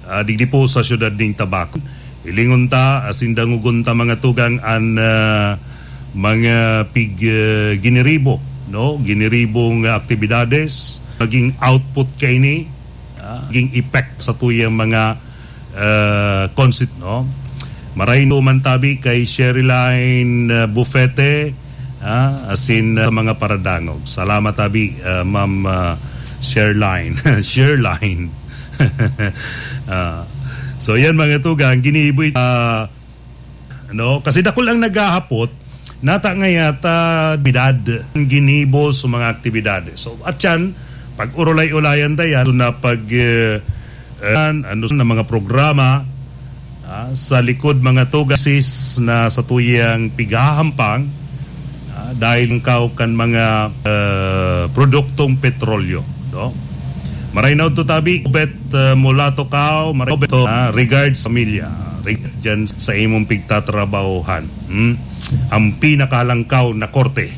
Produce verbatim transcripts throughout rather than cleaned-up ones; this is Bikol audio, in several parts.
ah, digdi po sa siyudad nin Tabaco. Hilingon ta, asin dangogon ta, mga tugang, an, ah, mga pig-, ah, giniribo, no? Giniribong aktibidades, maging output kaini, ah, maging effect sa tuyang mga, ah, consit-, no? Maray no man tabi kay Sherryline, ah, Bufete, ah, asin, ah, sa mga paradangog. Salamat tabi, ah, Ma'am, ah, Sherline. Sherline. Ah, so yan, mga tugang, ginibo it-, ah, ano, kasi dakul ang naghahapot, nata nga yata bidad, ginibo sa mga aktibidades. So, at yan, pag-urulay-ulayan ta yan, so na pag, eh, eh, ano na mga programa, ah, sa likod mga tugasis na sa tuyang pighahampang, ah, dahil kaw kan mga, ah, produktong petrolyo, no? Maray na udto tabi, Obet, ah, Mulato Kao, maray Obet, ah, regards sa pamilya, reg-, dyan sa imong pigtatrabahohan. Hmm? Ang pinakalangkaw na korte.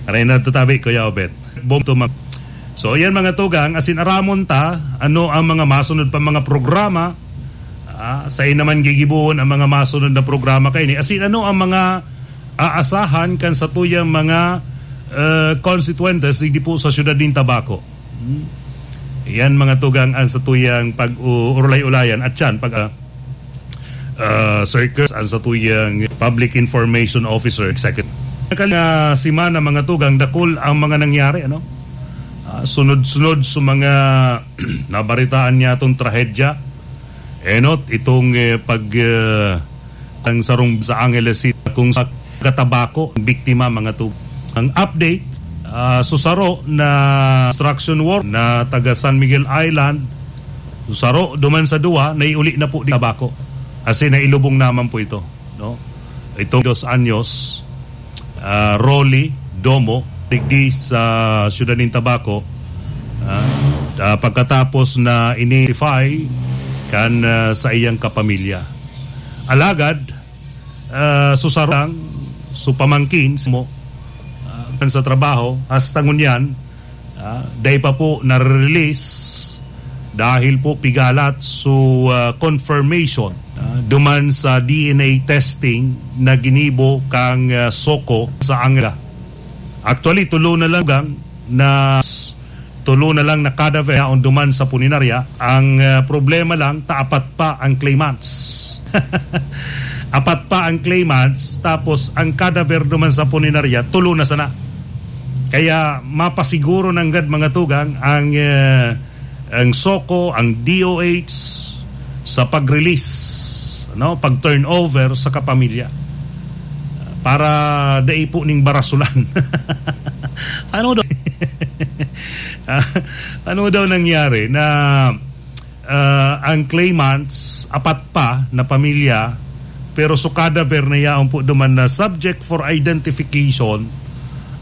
Maray na udto tabi, Kuya Obet. Bom to mag-, so, yan mga tugang, asin aramon ta, ano ang mga masunod pa mga programa, ah, sa naman gigibuhon ang mga masunod na programa kaini. Asin ano ang mga aasahan kan satuyang mga, eh, constituentes digdi po sa siyudad nin Tabaco. Hmm. Yan mga tugang an satuyang pag-u-, urulay-ulayan at yan, pag, ah, ah, circus, an satuyang Public Information Officer Executive. Nakal-, na simana, mga tugang, dakul ang mga nangyari, ano? Ah, sunod-sunod sa mga nabaritaan niya itong trahedya. Enot, itong, eh, pag, eh, ang sarong sa Angeles City, kung sa Tabaco, biktima, mga tugang. Ang update, ah, susaro na construction work na taga San Miguel Island, susaro duman sa duwa, naiuli na po di Tabaco. Kasi nailubong naman po ito, no? Itong dos anyos, ah, Rolly Domo, digdi sa siyudad nin Tabaco, ah, ah, pagkatapos na ini-identify kan, ah, sa iyang kapamilya. Alagad, ah, susarang, su pamangkin, mo, ah, kan sa trabaho, hasta ngunyan, ah, dai pa po nare-release dahil po pigalat su, ah, confirmation, ah, duman sa D N A testing na ginibo kang, ah, Soko sa Angela. Actually, tulo na lang gang na tulo na lang na cadaver yaon duman sa punerarya. Ang, ah, problema lang, ta apat pa ang claimants. Apat pa ang claimants, tapos ang cadaver duman sa punerarya, tulo na sana. Kaya mapasiguro nanggad mga tugang ang, ah, ang Soko, ang D O H sa pag-release, no, pag-turnover sa kapamilya para dai po ning barasulan. Ano daw? Ah, ano daw nangyari na, ah, ang claimants, apat pa na pamilya, pero su cadaver na yaon po duman na subject for identification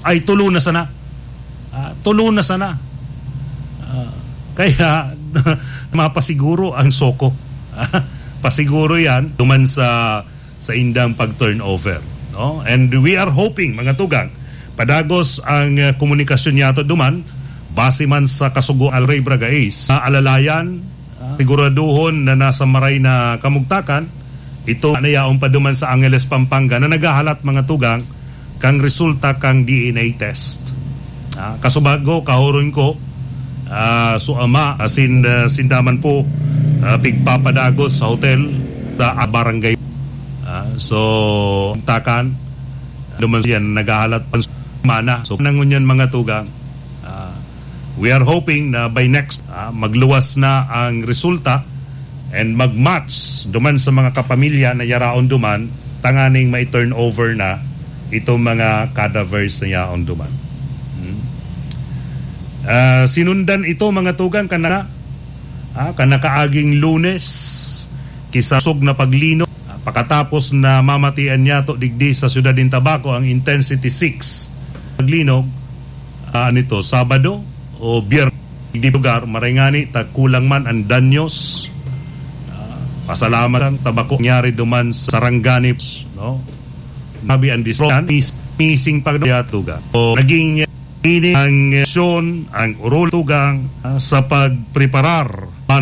ay tulo na sana. Ah, tulo na sana. Ah, kaya mapasiguro ang Soko. Pasiguro yan duman sa sa indang pag-turnover, no? And we are hoping, mga tugang, padagos ang, uh, komunikasyon niyato duman, base man sa kasugo Alrey Bragais, na alalayan, uh, siguraduhon na nasa maray na kamugtakan, ito na yaon pa duman sa Angeles, Pampanga, na naghahalat, mga tugang, kan resulta kan D N A test. Ah, kasubago, kahuron ko, ah, su ama, asin, ah, sinda man po, ah, pigpapadagos sa hotel sa barangay. Ah, so, takan, duman yan, naghahalat pa mana. So, nangunyan mga tugang. Ah, we are hoping na by next, ah, magluwas na ang resulta and mag-match duman sa mga kapamilya na yaraon duman, tanganing mai-turnover na itong mga cadavers na yaon duman. Hmm. Ah, sinundan ito, mga tugang, kan na-, ah, kan nakaaging Lunes, kisosog na paglinog. Ah, pakatapos na mamatian niyato digdi sa siyudad nin Tabaco ang Intensity six paglinog, ah, nito, Sabado o Biyernes, di lugar, maray ngani ta kulang man ang danyos. Ah, pasalamat ang Tabaco nangyari duman sa Sarangani, no? Grabe ang disruption, mis-, missing pag tugang. So, naging ini ang aksyon, ang orol tugang, ah, sa pagpreparar, paano